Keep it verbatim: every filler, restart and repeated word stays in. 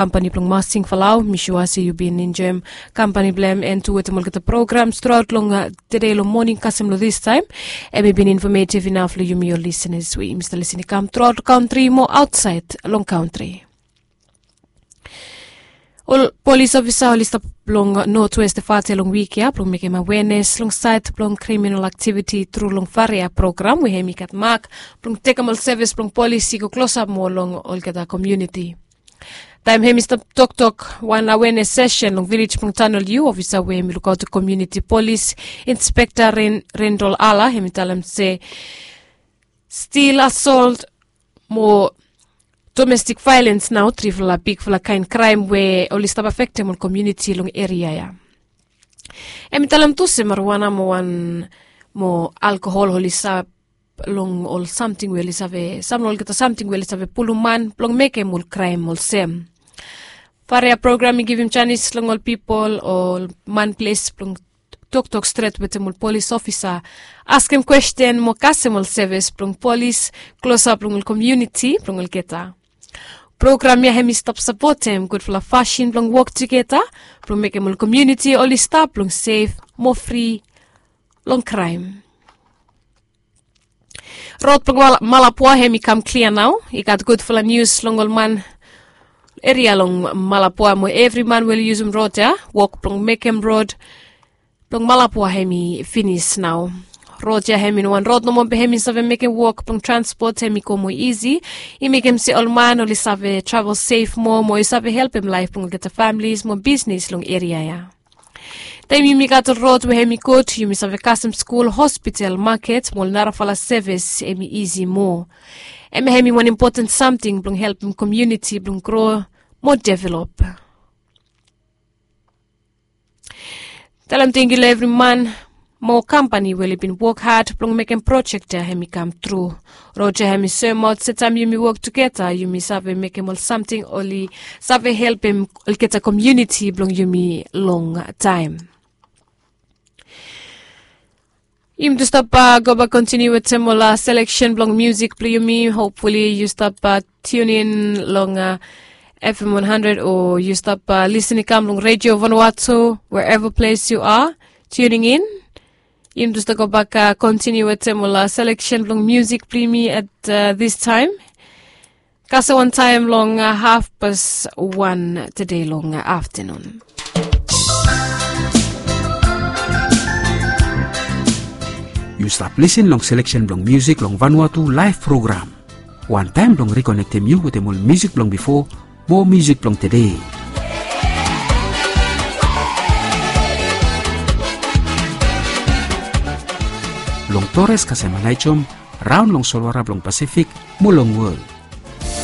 kampani blong Masing Falau. Mi sua se yu bin enjoem kampani blong hem and tu wetem olgeta programs truaot long tede long moning kasem long distaem. Hem i bin infometiv inaf long yumi ol lisenas we yumi stap lisin i kam truaot long kantri mo aotsaed long kantri. Ol polis ofisa oli stap long notwest fate long wik ya blong mekem awenes long saed blong kriminal aktiviti tru long faria program we hem i gat mak blong tekem ol sevis blong polis i go klosap moa long olgeta komiuniti. Taem hem i stap toktok wan awenes sesen long vilej blong tanol yu, ofisa we hem i lukaotem komiuniti polis, inspekta rendol ala, hem i talem se stil, asolt mo domestik vaelens nao trifala bigfala kaen kraem we oli stap afektem ol komiuniti long eria ya. Hem i talem tu se mariwana mo wan mo alkohol oli stap long ol samting we oli save sam long olgeta samting we oli save pulum man blong mekem ol kraem olsem. Faria program i givim janis long ol pipol o ol man ples blong toktok stret wetem ol polis ofisa, askem kwesten mo kasem ol sevis blong polis klosap long ol komiuniti blong olgeta. Program ya hem i stap sapotem gudfala fasin blong wok tugeta blong mekem ol komiuniti oli stap blong sef mo fri long kraem. Rod blong malapua hem i kam klia nao. I gat gudfala nius long ol man eria long malapua mo evri man we oli yusum rod ya. Wok blong mekem rod blong malapua hem i finis nao. Rod ya hem i no wan rod nomo be hem i save mekem wok blong transpot hem i go moa isi. I mekem se ol man oli save travel sef moa mo i save helpem laef blong olgeta familis mo bisnis long eria ya. Taem yumi gat ol rod we hem i gud yumi save kasem skul, hospital, maket mo ol narafala sevis hem i isi moa. Hem hem i wan impoten samting blong helpem komiuniti blong gro mo develop. Talem tangkiu long evri man mo kampani we oli bin wok had blong mekem projek ya hem i kam tru. Rod ya hem i soemaot se taem yumi wok tugeta yumi save mekem ol samting oli save helpem olgeta komiuniti blong yumi longtaem. Yumi tu stap gobak kontiniu wetem ol seleksen blong musik blong yumi. Hopfuli yu stap tunin long fm one hundred o yu stap lisin i kam long redio vanuatu, wherever ples yu a tuning in. Yumi tu stap gobak kontiniu wetem ol seleksen blong musik blong yumi at this taem. Kasem wantaem long hafpas wan tede long aftanun. Yu stap lisin long seleksen blong musik long vanuatu laef program. Wantaem blong rikonektem yu wetem ol musik blong bifo mo musik blong tede. Long tores kasem anaejom raon long solwara blong pasifik mo long wol.